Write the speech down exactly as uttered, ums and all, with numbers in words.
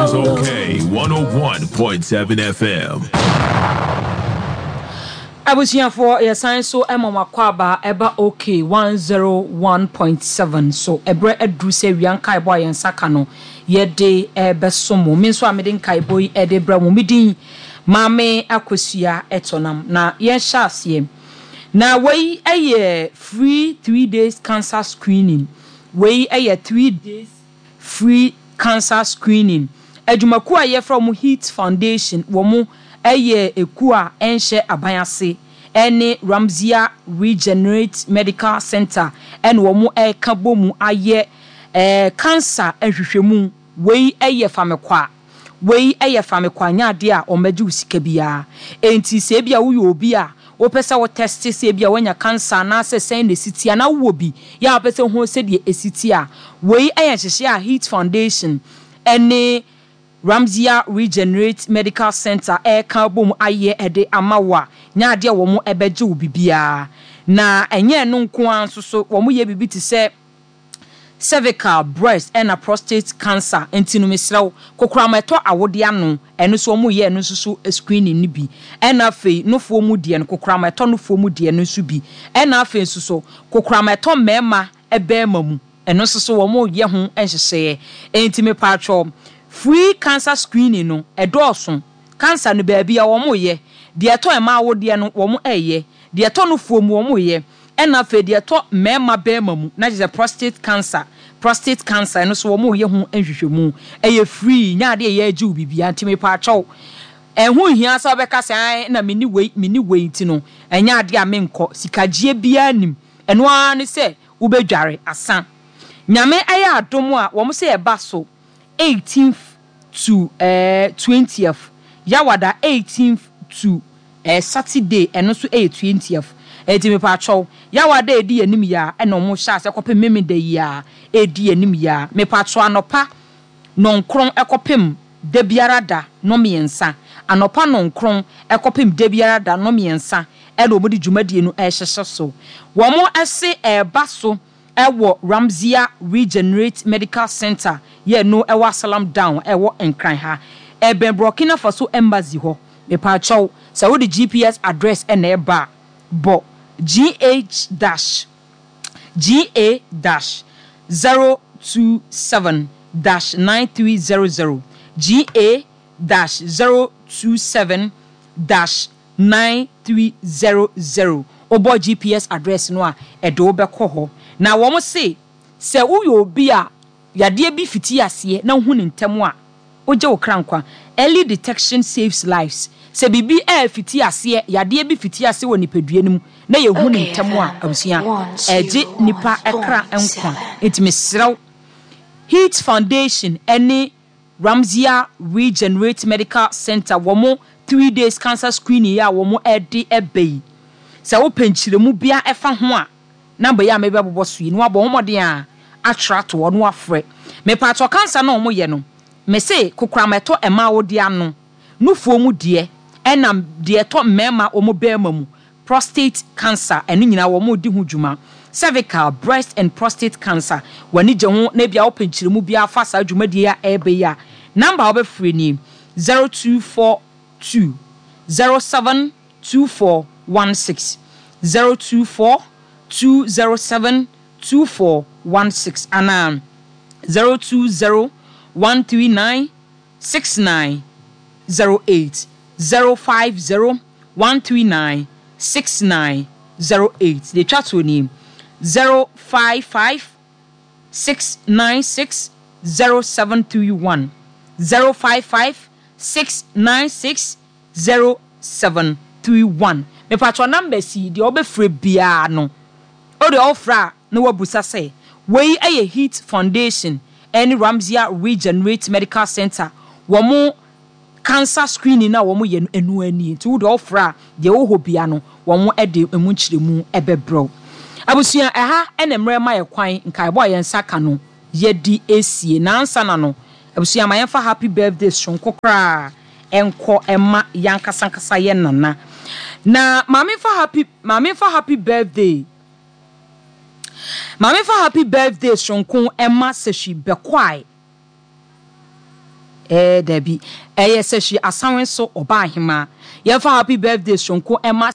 is Okay one oh one point seven F M. Abusuafoɔ, yɛsan so ma mo akɔ aba ɛba Okay one oh one point seven so. Ɛberɛ aduru sɛ wia nkaebɔ a yɛn nsa ka no yɛde ɛbɛso mo. Me nso a mede nkaebɔ yi ɛde brɛ mo, me din Maame Akosua Ɛtɔnam. Na yɛnhyɛ aseɛ na wei ɛyɛ free three days cancer screening. Wei ɛyɛ three days free cancer screening. Adwumakuo a yɛfrɛ wɔn Heat Foundation, wɔn ɛyɛ ekuo a ɛnhyɛ aban ase, ɛne Ramzia Regenerate Medical Center ɛna wɔn ɛreka bɔ mu ayɛ ɛɛ cancer nhwehwɛmu. Wei ɛyɛ famekwa, wei ɛyɛ famekwa, nyɛ adeɛ a wɔn wo sika biara. Enti sɛ ebi a woyɛ obi a wopɛ sɛ wo test sɛ ebi a woanya cancer anaasɛ sɛn na esi ti anaa wowɔ bi yɛ a wopɛ sɛ ho sɛdeɛ esi ti a, wei ɛyɛ nhyehyɛ a Heat Foundation ɛne Ramzia Regenerate Medical Center ɛreka bom ayɛ ɛde ama wo a nyɛ adeɛ a wɔn ɛbɛgye wo bibiara. Na ɛnyɛ ɛno nko ara nso so, wɔn yɛ biribi te sɛ cervical, breast ɛna prostate cancer. Nti no mesrɛ wo, kokoram ɛtɔ awodeɛ ano, ɛno nso wɔn yɛ ɛno nso so screening no bi. Ɛna afei nofoɔ mu deɛ no, kokoram ɛtɔ nofoɔ mu deɛ no nso bi. Ɛna afei nso so kokoram ɛtɔ mmarima ɛbɛɛma mu, ɛno nso so wɔn yɛ ho nhyehyɛeɛ. Nti mepatwɔ, free cancer screening no ɛdɔɔso. Cancer no, baabi a wɔn yɛ deɛ ɛtɔ mmaa awodeɛ no, wɔn ɛyɛ deɛ ɛtɔ nofoɔ mu, wɔn yɛ. Ɛna afei deɛ ɛtɔ mmarima bɛrima mu na kyerɛ sɛ prostate cancer, prostate cancer, ɛno nso wɔn yɛ ho nhwehwɛmu. Ɛyɛ free, nyɛ adeɛ yɛ agye wo biribiara. Nti mepatwɛw, ɛho nhia sɛ wɔbɛka sɛ ɛn na meni wei, meni wei, nti no ɛnyɛ adeɛ a menkɔ. Sikagyeɛ biara nim, ɛno ara ne sɛ wobɛdware asa. Nyame ɛyɛ adom a, wɔn sɛ ɛba so eighteenth to ɛɛ twentieth, Yawada eighteenth to ɛɛ Saturday, ɛno nso ɛyɛ twentieth. Ɛti mepatwɛw, Yawada edi anim yia ɛna wɔn hyɛ ase kɔpem Memeda yi a edi anim yia. Mepatwɛw, anɔpa nɔnkron ɛkɔpem da biara da nɔmmiɛnsa, anɔpa nɔnkron ɛkɔpem da biara da nɔmmiɛnsa, ɛna wɔn de dwumadie no ɛrehyehyɛ so. Wɔn ɛse ɛreba so ɛwɔ Ramzia Regenerate Medical Center yɛ no ɛwɔ Asalam Down, ɛwɔ Nkran ha, ɛbɛn Burkina Faso Embassy hɔ. Mepatwɛw, sɛ wode G P S address ɛna ɛba a, bɔ gh dash ga dash zero two seven dash nine three zero zero, ga dash zero two seven dash nine three zero zero. Wobɔ G P S address no a, ɛde wo bɛkɔ hɔ. Na wɔn se sɛ woyɛ obi a yadeɛ bi fiti aseɛ na wohu ne ntɛm a, wogye wo kra nkwa. Early detection saves lives. Sɛ biribi ɛɛfiti aseɛ, yadeɛ bi fiti aseɛ wɔ nipadua no mu na yɛhu ne ntɛm a, abusua, ɛgye nipa ɛkra nkwa. Nti mesrɛw, Heat Foundation ɛne Ramzia Regenerate Medical Center, wɔn three days cancer screening a wɔn ɛde ɛbɛ yi, sɛ wopɛ nkyerɛmu bia ɛfa ho a, number yi a mebɛbobɔ so yi na wabɔ wɔn mmɔden a atwerɛ ato hɔ na wafrɛ. Mepatɔ, cancer na wɔn yɛ no, mese kokoram ɛtɔ mmaa wɔde ano, nufoɔ mu deɛ, ɛna deɛ ɛtɔ mmarima wɔn bɛrima mu, prostate cancer, ɛno nyinaa wɔn di ho dwuma. Cervical, breast and prostate cancer, w'ani gye ho na ebia wopɛ nkyerɛmu bi afa saa dwumadie a ɛreba yi a, number a wobɛfrɛ nie: zero two four two zero seven two four one six, zero two four two zero seven two four one six, anaa zero two zero one three nine six nine zero eight, zero five zero one three nine six nine zero eight. Deɛ twa toɔ nie: zero five five six nine six zero seven three one, zero five five six nine six zero seven three one. Mepatwɔ, numbers yi deɛ ɔbɛfrɛ biara no, o deɛ ɔfrɛ a na wabusa sɛ wei yɛ Heat Foundation ɛne Ramzia Regenerate Medical Center, wɔn cancer screening na wɔn yɛ no, ɛnu ani. Nti wo deɛ ɔfrɛ a, deɛ ɛwɔ hɔ bia no, wɔn de emu nkyerɛmu ɛbɛbrɛw. Abusua, ɛha ɛna mmerɛ ma yɛ kwan. Nkaebɔ a yɛn nsa ka no yɛdi esie nansa na no. Abusua, ma yɛmfa happy birthday sonko koraa ɛnkɔ ɛma yankasankasa yɛ nana. Na maame fa happy maame fa happy birthday, maame fa happy birthday sonko ɛma Sɛhwi Bɛkwae. Ɛɛ dabi, ɛyɛ Sɛhwi Asanwe so ɔbaa hemaa. Yɛmfa happy birthday soronko ɛma.